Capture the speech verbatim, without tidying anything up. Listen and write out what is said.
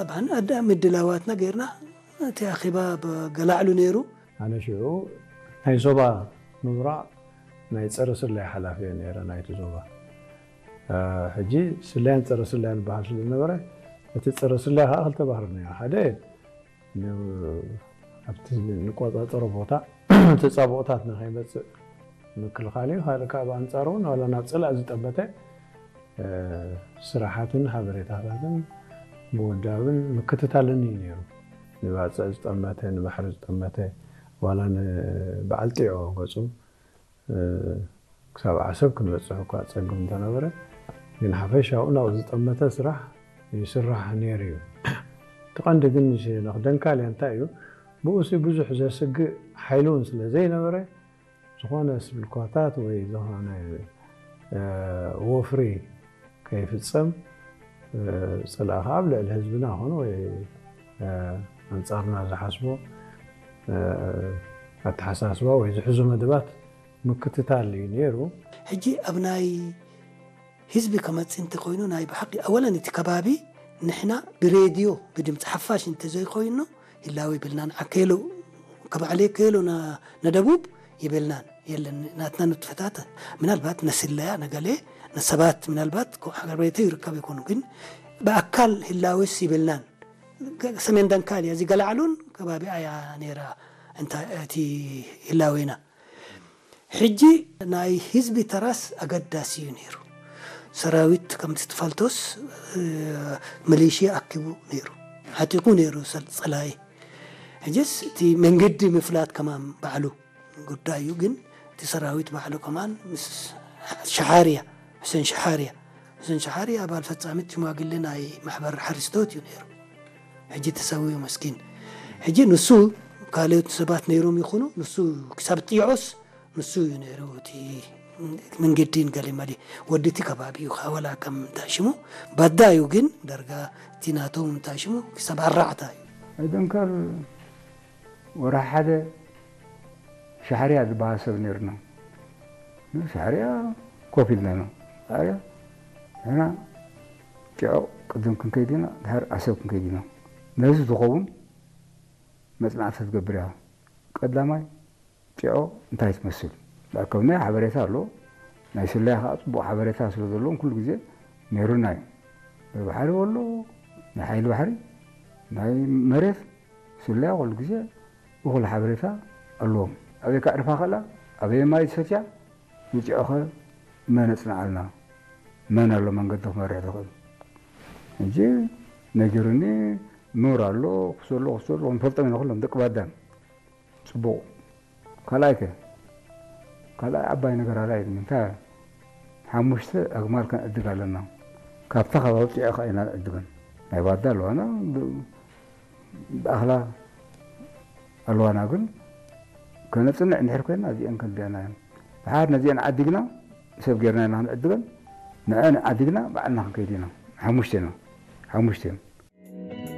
ጠብዓን፣ አዳም እድላዋትና ጌርና፣ እቲ አኼባ በገላዕሉ ነይሩ። አነ ሽዑ ናይ ዞባ ምብራቅ ናይ ጸረ ስለያ ሐላፊ ነይረ ናይቲ ዞባ። እ፣ ሕጂ ስለያን ጸረ ስለያን በሃል ስለነበረ፣ እቲ ጸረ ስለያ ከኣ ክልተ ባህሪ ነይሩ። ሓደ ን-፣ ኣብቲ ንቆጻጸሮ ቦታ ተጻብኦታት ንኸይመጽእ ምክልኻል እዩ። ካልእ ከኣ ብኣንጻሩ እውን ዋላ ናብ ጽላእ ዝጠመተ፣ እ፣ ስራሓትን ሓበሬታታትን ምውዳብን ምክትታልን እዩ ነይሩ። ንባጽዕ ዝጠመተ፣ ንባሕሪ ዝጠመተ፣ ዋላ ንበዓል ጢዖ ገጹ እ፣ ክሳብ ዓሰብ ክንበጽሕ እኳ ጸግም እንተነበረ፣ ግን ሓፈሻኡ ናብኡ ዝጠመተ ስራሕ ይስራሕ ነይሩ እዩ። እቲ ቀንዲ ግን ሸነኽ ደንካልያ እንታይ እዩ? ብኡሲ ብዙሕ ዘስግእ ሓይሊ እውን ስለ ዘይነበረ፣ ዝኾነ ስብልኳታት ወይ ዝኾነ፣ እ፣ ወፍሪ ከይፍጸም፣ እ፣ ጽልኢ ከኣ ኣብ ልዕሊ ህዝብና ኾነ ወይ፣ እ፣ ኣንጻርና ዝሓስቦ፣ እ፣ ኣተሓሳስባ ወይ ዝሕዙ መደባት ምክትታል እዩ ነይሩ። ሕጂ ኣብ ናይ ህዝቢ ከመጽእ እንተ ኮይኑ፣ ናይ ብሓቂ ኣወለን እቲ ከባቢ ንሕና ብሬድዮ ብድምጺ ሓፋሽ እንተ ዘይኮይኑ፣ ህላዌ ይብልናን፣ ዓኬሎ፣ ከባዕሌ ኬሎ ና-፣ ነደቡብ ይብልናን የለን። ናትና ንጥፈታት ምናልባት ነስለያ ነገሌ ነሰባት ምናልባት ኮ-፣ ሀገር ቤቱ ይርከብ ይኮኑ፣ ግን በአካል ህላዌስ ይብልናን። ገ-፣ ሰሜን ደንካል እዚ ገላዕሉን ከባቢ ኣያ ኔራ እንታ እቲ ህላዌና። ሕጂ ናይ ህዝቢ ተራስ አገዳሲ እዩ ነይሩ። ሰራዊት ከምቲ ትፈልጦስ፣ እ፣ ሚሊሽያ አኪቡ ነይሩ፣ ዓጢቁ ነይሩ ሰል-፣ ጸላኢ። ሕጅስ እቲ መንገዲ ምፍላት ከማን ባዕሉ ጉዳይ እዩ። ግን እቲ ሰራዊት ባዕሉ ከማን ምስ ሸሓርያ፣ ሑሴን ሸሓርያ፣ ሑሴን ሸሓርያ አባል ፈጻሚት ሽማግሌ ናይ ማሕበር ሓሪስቶት እዩ ነይሩ። ሕጂ ተሰዊኡ መስኪን። ሕጂ ንሱ ካልኦት ሰባት ነይሮም ይኹኑ፣ ንሱ ክሳብ ጢዖስ ንሱ እዩ ነይሩ። እቲ መንገዲን ገሌ መሊ ወዲ እቲ ከባቢ እዩ። ወላ ከም እንታይ ሽሙ ባዳ እዩ፣ ግን ደርጋ እቲ ናቶም እንታይ ሽሙ ክሳብ ኣራዕታ እዩ። ኣይደንከር ወርሒ ሓደ ሻሕርያ ዝበሃል ሰብ ነይርና። ሻሕርያ ኮፍ ኢልና ኢና። ሻሕርያ ንሕና ጢዖ ቅድም ክንከይድ ኢና፣ ድሓር ዓሰብ ክንከይድ ኢና። ነዚ ዝኸውን መጽናዕቲ ትገብር ኢኻ። ቀዳማይ ጢዖ እንታይ ትመስል? መእከብናይ ሓበሬታ ኣሎ። ናይ ስለያ ከኣ ጽቡቕ ሓበሬታ ስለ ዘለዎም ኩሉ ግዜ ነይሩና እዩ። ናይ ባሕሪ ወሎ፣ ናይ ሓይሊ ባሕሪ፣ ናይ መሬት ስለያ ኩሉ ግዜ እኹል ሓበሬታ ኣለዎም። ኣበይ ከዕርፋ ከላ፣ ኣበይ ማይ ትሰትያ፣ ንጢዖኸ መን ኣጽንዓልና፣ መን ኣሎ መንገዲ ክመርሕ ዝኽእል? ሕጂ ነጊሩኒ፣ ኑር ኣሎ፣ ክሶ ኣሎ፣ ክሶ ኣሎ፣ ክንፈልጦም ኢና ኩሎም ደቂ ባዳን። ጽቡቕ። ካልኣይከ? ካልኣይ ዓባይ ነገር ኣላ እዩ። እንታይ? ሓሙሽተ ኣግማል ከነዕድግ ኣለና። ካብታ ከባቢ ጢዖ ከኣ ኢና ንዕድገን። ናይ ባዳ ኣለዋና፣ ብ-፣ ብኣኽላ ኣለዋና፣ ግን ከነጽንዕ እንድሕር ኮይና እዚአን ከንድያና እየን። ድሓር ነዚአን ዓዲግና ሰብ ጌርና ኢና ክንዕድገን። ንዐን ዓዲግና ባዕልና ክንከይድ ኢና። ሓሙሽተ ኢና። ሓሙሽተ እዮም።